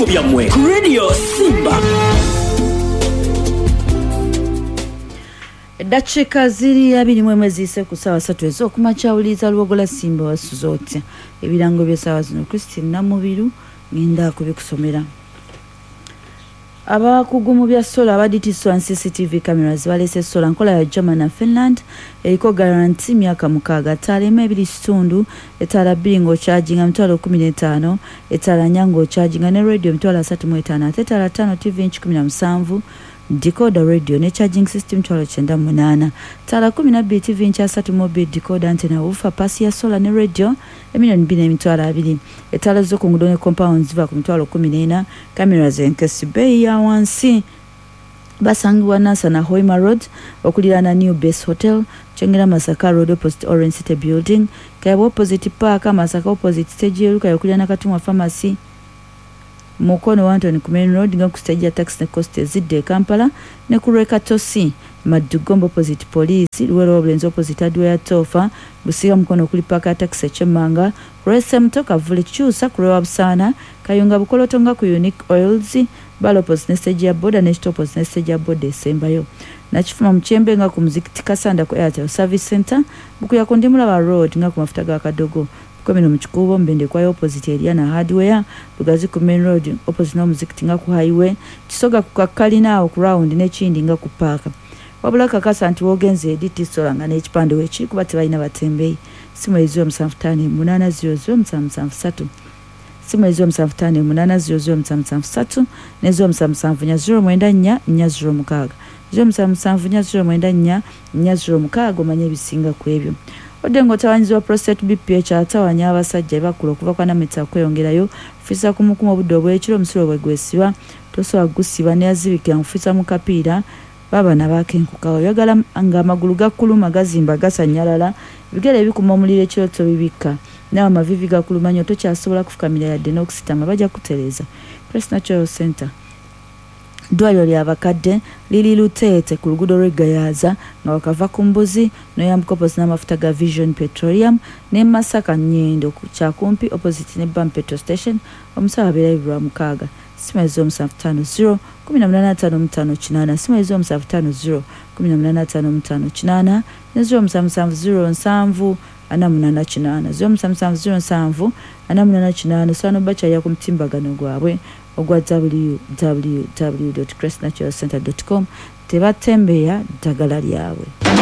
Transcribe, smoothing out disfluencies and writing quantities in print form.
Ebirango byammwe ku Radio Simba. Eddakiika ziri 21 ziyise ku ssaawa 3 ez'okumakya. Wuliriza Luwogola Simba, wasuze otya? Ebirango by'essaawa zino, Christine Namubiru ngenda kubikusomera. Abakugu mu bya solar aba DT Solar and CCTV cameras baleese solar nkola ya German na Finland, eriko guarantee myaka 6. Ttaala emu 2.5, etaala bbiri ng'okyajinga 150,000, etaala nnya ng'okyajinga ne radio 35,000, ate etaala ttaano, TV inch 17, decoder, radio ne charging system 98,000. Ttaala 12, TV inch 32, decoder, antenna, woofer, paasi ya solar ne radio 2,200,000. Etaala z'oku nguudo ne compound ziva ku 14,000. Cameras enkesi, bbeeyi ya wansi. Basangibwa Nansana Hoima Road okuliraana New Base Hotel, Kyengera Masaka Road opposite Orange City Building, Kayabwe opposite Park, Masaka opposite stage y'Erukayo okuliraana Katumwa Pharmacy, Mukono Wantoni ku Main Road nga ku stage ya taxi ne coast ezidda e Kampala, ne ku lw'e Katosi, Maddugombo opposite police, Luwero Obulenzi opposite hardware Tofa, Busiga Mukono okuli paaka ya taxi ekyemmanga, ku lw'Esemuto, Kavule Kikyusa, ku lw'ewa Busaana, Kayunga Bukoloto nga ku Unique Oils, Bala opposite ne stage ya boda, ne Kito opposite ne stage ya boda esembayo, Nakifuma Mukyembe nga ku muzikiti, Kasanda ku Airtel Service Center, Bukuya ku Ndimulaba Road nga ku mafuta ga Kadogo, Bukomero mu Kikuubo, Mbende kwayo opposite Eriana Hardware, Lugazi ku Main Road opposite n'omuzikiti nga ku highway, Kisoga ku kakkalina awo ku round, n'ekindi nga ku paaka. Wabula kakasa nti wogenze edi tisola nga n'ekipande weekiri, kuba tebalina batembeeyi. Simu eri 0758007773, simu eri 0758007773 ne 0774094406, 0774094406. Omanye ebisinga ku ebyo. Odde ng'otawanyizibwa prostate, BPH atawanya abasajja ebakula okuva kwa namita okweyongerayo, fisa kumukumu obudde obw'ekiro, omusulo bwe gwesiba tosobola kugusiba, neyazibikira nkufisa mu kapiira baba nabakenkuka. Oyagala ng'amagulu gakuluma, gazimba, gasanyalala, ebigere bikuma omuliro ekiro tobibikka, naawe amavivi gakuluma nnyo, tokyasobola kufukamira yadde n'okusitama, bajja kutereeza. Crest Natural Center, ddwaliro lyabakadde, liri Luteete ku luguudo lw'e Gayaza nga wakava ku mbuzi noyambuka opposite n'amafuta ga Vision Petroleum, ne Masaka Nyendo Kyakumpi opposite ne Bam Petrol Station. Omusawo abeerayo lwa mukaaga. Simu 0750 1855 8, simu 0750 1855 8 ne 0770 7 48 8, 0770 7 48 8. Osobola nobakyalira ku mutimbagano gwabwe ogwa www crestnaturalcenter com. Tebatembeya ddagala lyabwe.